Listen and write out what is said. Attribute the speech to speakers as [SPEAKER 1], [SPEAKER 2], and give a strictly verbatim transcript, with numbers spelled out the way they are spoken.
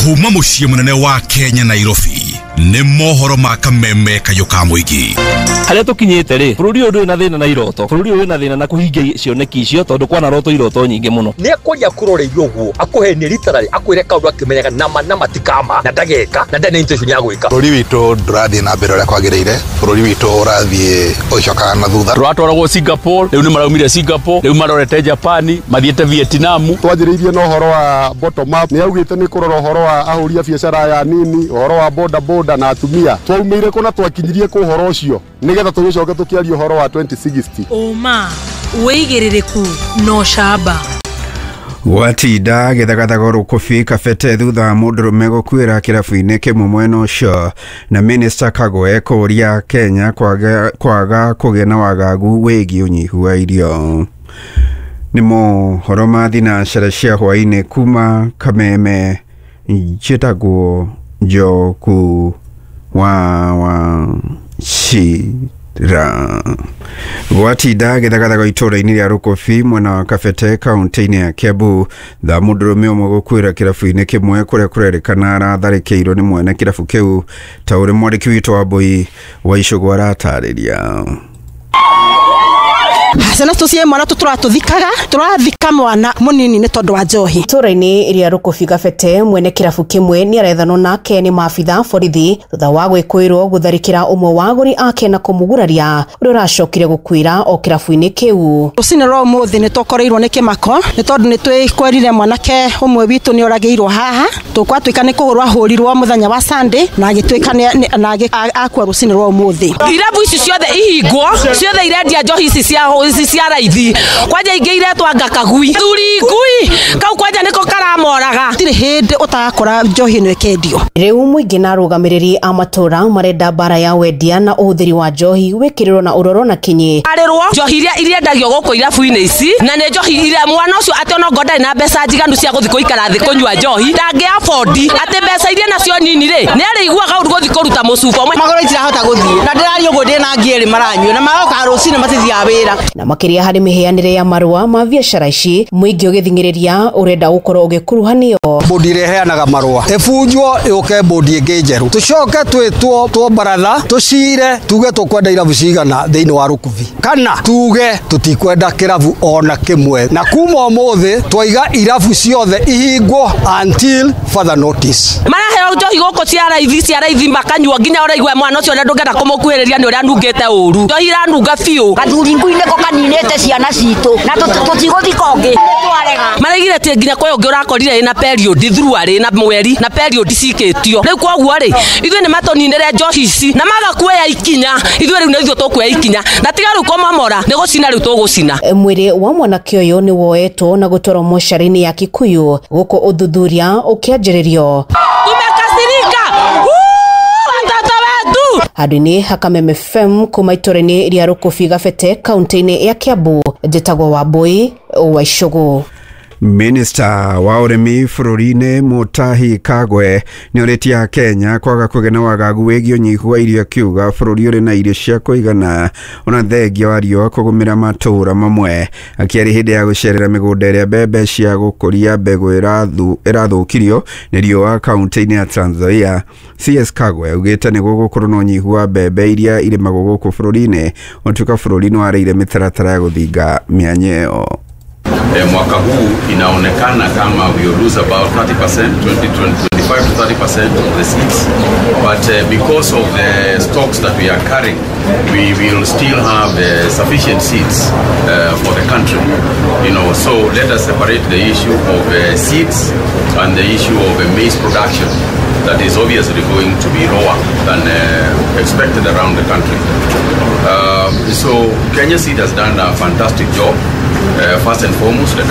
[SPEAKER 1] Kuma muciĩ mũnene wa Kenya, Nairobi, nĩ mohoro ma kameme kayũ ka mũingĩ.
[SPEAKER 2] Harĩa tũkinyĩte rĩ, bũrũri ũyũ ndũrĩ na thĩna na iroto, bũrũri ũyũ wĩna thĩna na kũhingia cioneki icio, tondũ kwana roto iroto nyingĩ mũno.
[SPEAKER 3] Nĩ akwaria kũroreirio ũguo, akũhenie literally, akwĩre kaũndũ akĩmenyaga nama nama ti kama na ndageka na ndarĩ na intention ya gwĩka.
[SPEAKER 4] Bũrũri witũ ndũrathiĩ na mbere ũrĩa kwagĩrĩire, bũrũri witũ ũrathiĩ ũgĩcokaga na thutha.
[SPEAKER 5] Tũratwaragwo Singapore, rĩu nĩ maraumire Singapore, rĩu marorete Japan, mathiĩte Vietnam.
[SPEAKER 6] Twanjĩrĩirie na ũhoro wa bottom up, nĩ augĩte nĩ kũrora ũhoro wa ahũri a biacara aya nini, ũhoro wa boda boda na atumia. Twaumĩire kũ na twakinyirie kũ ũhoro ũcio nĩgetha tũgĩcoke tũkĩaria ũhoro wa twenty sixty?
[SPEAKER 7] Ũma, wĩigĩrĩrĩku na ũcamba.
[SPEAKER 8] Gwatinda gĩthagathago Rũkũbi Kabete thutha wa mũndũrũme gũkuĩra kĩrabu-inĩ kĩmwe mwena ũcio, na Minista Kagwe kũũria Kenya kwaga, kwaga kũgĩa na wagagu wĩgiĩ ũnyihu wa irio. Nĩ mohoro ma thinacara cia hwaĩ-inĩ kuma Kameme, njĩtagwo Njoku wa wa Cira. Gwatinda gĩthagathago itũũra-inĩ rĩa Rũkũbi mwena wa Kabete, kaunti-inĩ ya Kiambu, tha mũndũrũme ũmwe gũkuĩra kĩrabu-inĩ kĩmwe kũrĩa kũrerĩkana aratharĩkĩirwo nĩ mwene kĩrabu kĩu, ta ũrĩa mwandĩki witũ wa Mbui wa Icũgũ aratarĩria.
[SPEAKER 9] Ciana tũcie mwana tũtũra tũthikaga, tũrathika mwana mũnini nĩ tondũ wa njohi.
[SPEAKER 10] Itũra-inĩ rĩa Rũkũbi Kabete, mwene kĩrabu kĩmwe nĩ arethanwo nake nĩ maabitha borithi thutha wa gwĩkũĩrwo gũtharĩkĩra ũmwe wa agũri ake na kũmũguraria, ũrĩa ũracokire gũkuĩra o kĩrabu-inĩ kĩu.
[SPEAKER 9] Rũcinĩ rwa ũmũthĩ nĩ tũkoreirwo nĩ kĩmako nĩ tondũ nĩ twĩkwerire mwanake ũmwe witũ nĩ oragĩirwo haha. Tũkwatuĩka nĩ kũhũrwo ahũrirwo mũthenya wa Sunday na agĩtuĩka nĩ- na agĩ- akua rũcinĩ rwa ũmũthĩ.
[SPEAKER 11] Irabu ici ciothe ihingwo, ciothe irendia njohi ici cia ici cia raithi, kwanja ingĩ iretwo anga kagui thuri ngui kau, kwanja nĩko karamoraga.
[SPEAKER 9] Gũtirĩ hĩndĩ ũtagakora njohi ĩno ĩkĩendio.
[SPEAKER 10] Rĩu mũingĩ na arũgamĩrĩri a matũra marenda mbara ya wendia na ũhũthĩri wa njohi wĩkĩrĩrwo na ũrorwo na kinyi.
[SPEAKER 11] Arĩrwo njohi iria irendagio gũkũ irabu-inĩ ici, na nĩ njohi iria mwana ũcio atĩ ona okorwo ndarĩ na mbeca njiganu cia gũthiĩ gũikara thĩ kũnyua njohi, ndangĩ afford, atĩ mbeca iria nacio nini rĩ, nĩ arĩiguaga ũru gũthiĩ kũruta mũcuba ũmwe.
[SPEAKER 12] Magũrũ itirahota gũthiĩ na ndĩraria ũguo ndĩna ngi erĩ maranyua na maroka rũcinĩ matithiaga wĩra.
[SPEAKER 10] Na makĩria harĩ mĩheanĩre ya marũa ma biacara ici, mũingĩ ũgĩthing'ĩrĩria ũrenda gũkorwo ũgĩkuruhanio.
[SPEAKER 13] Bodi ĩrĩa ĩheanaga marũa ĩbunjwo, yũke bodi ĩngĩ njerũ, tũcoke twĩtwo two baratha tũcire tuge tũkwenda irabu cigana thĩinĩ wa Rũkubi kana tuge tũtikwenda kĩrabu ona kĩmwe, na kuma ũmũthĩ twaiga irabu ciothe ihingwo until further notice.
[SPEAKER 11] Maraheo njohi gũkũ cia raithi cia raithi makanyua nginya ũraigua mwana ũcio ona ndũngĩenda kũmũkuhĩrĩria nĩ ũrĩa anungĩte ũru, njohi iranunga biũ.
[SPEAKER 14] Gathuri ngui nĩko kaninĩte ciana citũ na tũtigũthika ũngĩ, nĩ twarega.
[SPEAKER 11] Maraigire atĩ nginya kwĩ ũngĩ ũrakorire ĩna period thuruarĩ na mweri na period cikĩtio. Rĩu koguo rĩ, ithuĩ nĩ matũninĩre njohi ici na maga kuoya ikinya, ithuĩ rĩu nĩ ithuĩ tũkuoya ikinya na tiga rĩu kũmomora nĩ gũcina, rĩu tũgũcina.
[SPEAKER 10] Mwĩrĩ wa mwanake ũyũ nĩ woetwo na gũtwarwo mocarĩ-inĩ ya Kikuyu gũkũ ũthuthuria ũkĩanjĩrĩrio.
[SPEAKER 11] Tumekasirika. Wuu, watoto wetu.
[SPEAKER 10] Handũ-inĩ ha Kameme F M kuma itũra-inĩ rĩa Rũkũbi Gabete, kaunti-inĩ ya Kiambu, njĩtagwo Wambui wa Icũgũ.
[SPEAKER 8] Minista wa ũrĩmi bũrũri-inĩ Mutahi Kagwe nĩ orĩtie Kenya kwaga kũgĩa na wagagu wĩgiĩ ũnyihu wa irio, akiuga bũrũri ũrĩ na irio cia kũigana ona thengia wa riũa kũgũmĩra matũũra mamwe. Akĩaria hĩndĩ ya gũcerera mĩgũnda ĩrĩa mbembe cia gũkũria mbegũ ĩrathũkirio nĩ riũa kaunti-inĩ ya Trans Nzoia, C S Kagwe augĩte nĩguo gũkorwo na ũnyihu wa mbembe iria irĩmagwo gũkũ bũrũri-inĩ, ũtuĩka bũrũri nĩ warĩire mĩtaratara ya gũthinga mĩanya ĩyo.
[SPEAKER 15] E, mwaka huu inaonekana kama we will lose about thirty percent, twenty, twenty-five to thirty percent of the seeds. But uh, because of the stocks that we are carrying, we will still have uh, sufficient seeds uh, for the country. You know, so let us separate the issue of uh, seeds and the issue of uh, maize production that is obviously going to be lower than uh, expected around the country. Um, so Kenya Seed has done a fantastic job. Uh, first and foremost, the